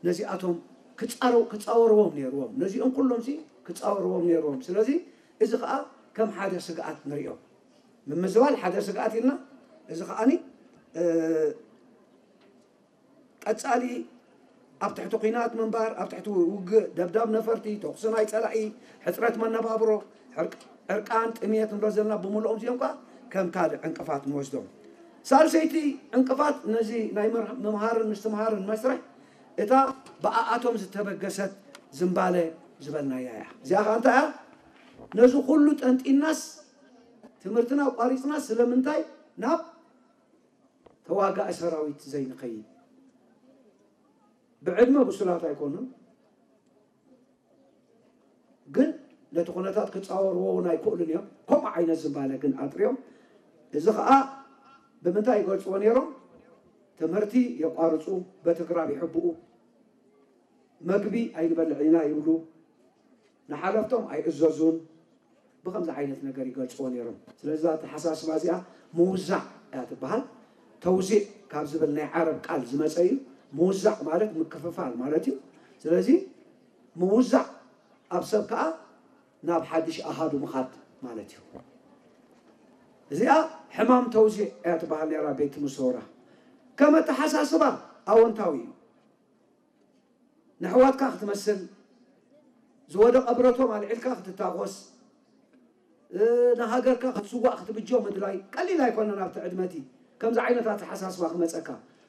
ነዚኣቶም ክፃረው ክፃወርዎም ነይርዎም። ነዚኦም ኩሎም ሲ ክፃወርዎም ነይርዎም። ስለዚ እዚ ከዓ ከም ሓደ ስግኣት ንሪኦ። ምምዝባል ሓደ ስግኣት ኢልና፣ እዚ ከዓኒ ቀፃሊ ኣብ ትሕቲ ኲናት ምንባር፣ ኣብ ትሕቲ ውግእ፣ ደብዳብ ነፈርቲ፣ ተኹሲ ናይ ፀላኢ፣ ሕፅረት መነባብሮ፣ ዕርቃን፣ ጥምየት ንብሎ ዘለና ብምልኦም እዚኦም ከዓ ከም ካልእ ዕንቅፋት ንወስዶም። ሳልሰይቲ ዕንቅፋት ነዚ ናይ ምምሃርን ምስትምሃርን መስርሕ እታ ብኣኣቶም ዝተበገሰት ዝምባለ ዝበልናያ እያ። እዚኣ ከዓ እንታይ እያ? ነዚ ኩሉ ጠንጢናስ ትምህርትና ኣቋሪፅና ስለምንታይ ናብ ተዋጋኢ ሰራዊት ዘይንኸይድ? ብዕድመ ብሱላት ኣይኮኑን፣ ግን ነቲ ኩነታት ክፃወርዎ እውን ኣይክእሉን እዮም። ከምኡ ዓይነት ዝምባለ ግን ኣጥርዮም። እዚ ከዓ ብምንታይ ይገልፅዎ ነይሮም? ትምህርቲ የቋርፁ፣ በቲ ግራብ ይሕብኡ፣ መግቢ ኣይንበልዕን ኢና ይብሉ፣ ንሓለፍቶም ኣይእዘዙን። ብኸምዚ ዓይነት ነገር ይገልፅዎ ነይሮም። ስለዚ እዛ ኣተሓሳስባ እዚኣ ምውዛዕ እያ ትበሃል። ተውዚዕ ካብ ዝብል ናይ ዓረብ ቃል ዝመፀ እዩ። ምውዛዕ ማለት ምክፍፋል ማለት እዩ። ስለዚ ምውዛዕ ኣብ ሰብ ከዓ ናብ ሓድሽ ኣሃዱ ምኻድ ማለት እዩ። እዚኣ ሕማም ተውዚዕ እያ ትበሃል ነይራ ቤት ሙሰውራ። ከም ኣተሓሳስባ ኣወንታዊ እዩ። ንሕዋትካ ክትመስል፣ ዝወደቐ ብረቶም ኣልዒልካ ክትታኾስ፣ ንሃገርካ ክትስዋእ ክትብጆ ምድላይ ቀሊል ኣይኮነን። ኣብቲ ዕድመቲ ከምዚ ዓይነት ኣተሓሳስባ ክመፀካ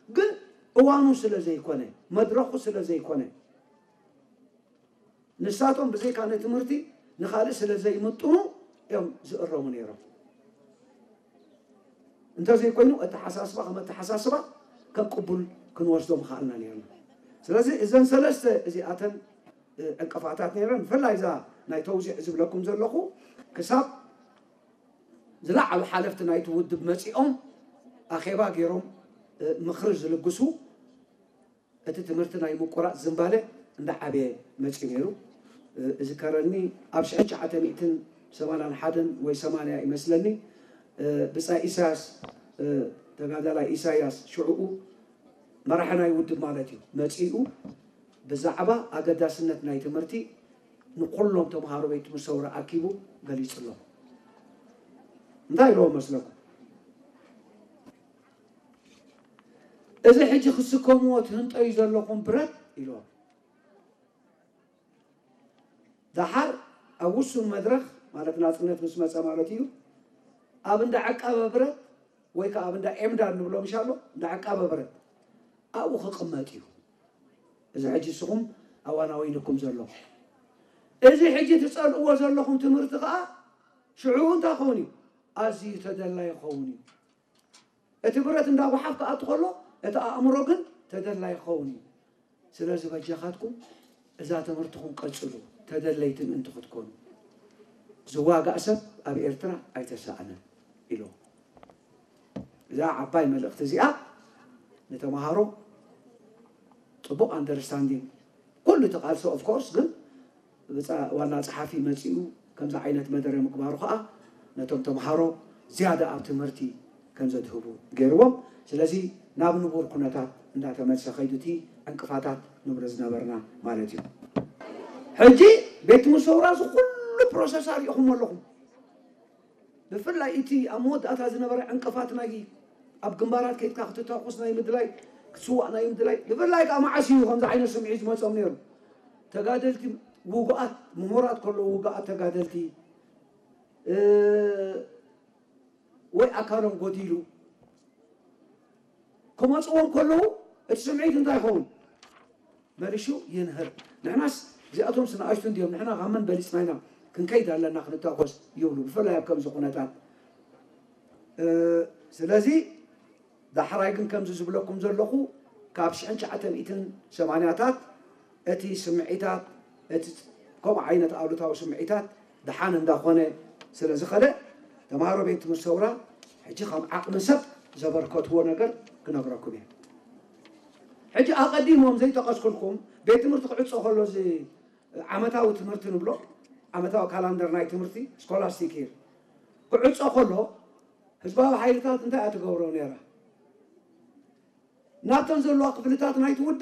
ግን እዋኑ ስለ ዘይኮነ፣ መድረኹ ስለ ዘይኮነ፣ ንሳቶም ብዘይካ ንትምህርቲ ንኻልእ ስለ ዘይምጥኑ እዮም ዝእረሙ ነይሮም። እንተዘይኮይኑ ኣተሓሳስባ ከም ኣተሓሳስባ ከም ቅቡል ክንወስዶ ምኽኣልና ነይርና። ስለዚ እዘን ሰለስተ እዚኣተን ዕንቅፋታት ነይረን። ብፍላይ እዛ ናይ ተውዚዕ ዝብለኩም ዘለኹ ክሳብ ዝለዓሉ ሓለፍቲ ናይቲ ውድብ መፂኦም ኣኼባ ገይሮም ምኽሪ ዝልግሱ እቲ ትምህርቲ ናይ ምቁራፅ ዝንባለ እንዳዓበየ መፂኡ ነይሩ። እዝከረኒ ኣብ ሽሕን ትሽዓተ ሚእትን ሰማንያን ሓደን ወይ ሰማንያ ይመስለኒ ብፃይ ኢሳያስ ተጋዳላይ ኢሳያስ ሽዕኡ መራሒ ናይ ውድብ ማለት እዩ መፂኡ ብዛዕባ ኣገዳስነት ናይ ትምህርቲ ንኩሎም ተምሃሮ ቤት ትምህርቲ ሰውራ ኣኪቡ ገሊፅሎም። እንታይ ኢለዎም መስለኩም? እዚ ሕጂ ክስከምዎ ትህንጠዩ ዘለኹም ብረት ኢሎም። ደሓር ኣብ ውሱን መድረኽ ማለት ናፅነት ምስ መፀ ማለት እዩ ኣብ እንዳ ዕቃበ ብረት ወይ ከዓ ኣብ እንዳ ኤምዳር ንብሎ ምሻሎ እንዳ ዕቃበ ብረት ኣብኡ ክቕመጥ እዩ። እዚ ሕጂ ንስኹም ኣዋናዊንኩም ዘሎ እዚ ሕጂ ትፀልእዎ ዘለኹም ትምህርቲ ከዓ ሽዑ እንታይ ክኸውን እዩ? ኣዝዩ ተደላይ ይኸውን እዩ። እቲ ብረት እንዳ ጓሓፍ ክኣቱ ከሎ እቲ ኣእምሮ ግን ተደላይ ክኸውን እዩ። ስለዚ በጃኻትኩም እዛ ትምህርትኹም ቀጽሉ፣ ተደለይቲ ምእንቲ ክትኮኑ። ዝዋጋእ ሰብ ኣብ ኤርትራ ኣይተሳእነን ኢሉ። እዛ ዓባይ መልእኽቲ እዚኣ ንተምሃሮ ጽቡቕ ኣንደርስታንዲንግ ኩሉ እቲ ቃልሲ ኦፍኮርስ ግን ዋና ፀሓፊ መፂኡ ከምዚ ዓይነት መደረ ምግባሩ ከዓ ነቶም ተምሃሮ ዝያዳ ኣብ ትምህርቲ ከም ዘድህቡ ገይርዎም። ስለዚ ናብ ንቡር ኩነታት እንዳተመልሰ ከይዱ እቲ ዕንቅፋታት ንብሎ ዝነበርና ማለት እዩ። ሕጂ ቤት ሙሰውራ እዚ ኩሉ ፕሮሰስ ኣሪእኹም ኣለኹም። ብፍላይ እቲ ኣብ መወዳእታ ዝነበረ ዕንቅፋት ናይ ኣብ ግንባራት ከይድካ ክትተኩስ ናይ ምድላይ ክትስዋእ ናይ ምድላይ ብፍላይ ከዓ መዓስ እዩ ከምዚ ዓይነት ስምዒት ዝመፆም ነይሩ? ተጋደልቲ ውጉኣት ምሁራት ከለዉ ውጉኣት ተጋደልቲ ወይ ኣካሎም ጎዲሉ ክመፅዎም ከለዉ እቲ ስምዒት እንታይ ይኸውን? መሊሹ ይንህር። ንሕናስ እዚኣቶም ስንኣሽቱ እንዲዮም ንሕና ካብ መን በሊፅና ኢና ክንከይድ ኣለና ክንታኮስ ይብሉ ብፍላይ ኣብ ከምዚ ኩነታት። ስለዚ ዳሕራይ ግን ከምዚ ዝብለኩም ዘለኹ ካብ ሽሕን ትሽዓተ ሚእትን ሰማንያታት እቲ ስምዒታት እቲ ከምኡ ዓይነት ኣሉታዊ ስምዒታት ደሓን እንዳኾነ ስለ ዝኸደ ተምሃሮ ቤት ትምህርቲ ሰውራ ሕጂ ከም ዓቕሚ ሰብ ዘበርከትዎ ነገር ክነግረኩም እየ። ሕጂ ኣቐዲሞም ዘይጠቐስኩልኩም ቤት ትምህርቲ ክዕፆ ከሎ እዚ ዓመታዊ ትምህርቲ ንብሎ ዓመታዊ ካላንደር ናይ ትምህርቲ ስኮላስቲክ ይር ክዕፆ ከሎ ህዝባዊ ሓይልታት እንታይ እያ ትገብሮ ነይራ? ናብተን ዘለዋ ክፍልታት ናይቲ ውድብ